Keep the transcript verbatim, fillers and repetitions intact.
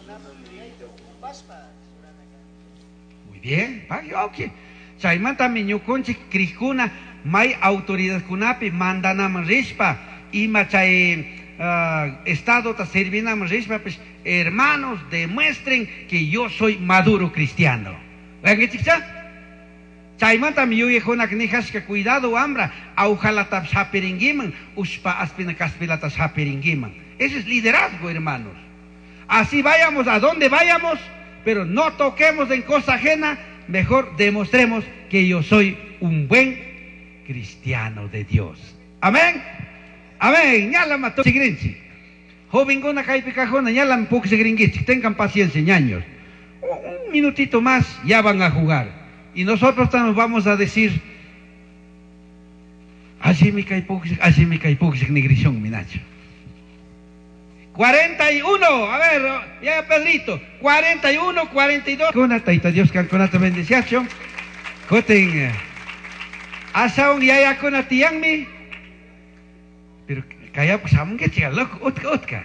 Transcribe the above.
Paicunapaj yuyaita ocupashpa churana kanchik. Muy bien, pagui, ok. Chaymantami ñukunchik crijkuna may autoridadkunapi mandanaman rishpa ima chay uh, estadota servinaman rishpapish, hermanos, demuestren que yo soy maduro cristiano. Uyankichikcha? Chaymantami yuyajkunak nijashka cuidado wambra, aujalatapish hapiringuiman, ushpa aspina kaspilatash hapiringuiman. Ese es liderazgo, hermanos. Así vayamos a donde vayamos, pero no toquemos en cosa ajena, mejor demostremos que yo soy un buen cristiano de Dios. Amén. Amén. Ñalama chigrinchi. Jovenguna kaypi kajuna ñalam puksigringuichik. Tengan paciencia, ñaños. Un minutito más ya van a jugar. Y nosotros también vamos a decir, allimi kay puksik, allimi kay puksik nigrishun minacho. cuarenta y uno, a ver, ya Pedrito, cuarenta y uno, cuarenta y dos. Kuna, Taita Dios kankunata bendiciachun. Kutin, ashawan yayakuna tiyanmi. Pero kaya shamunkichik, loco, utka, utka.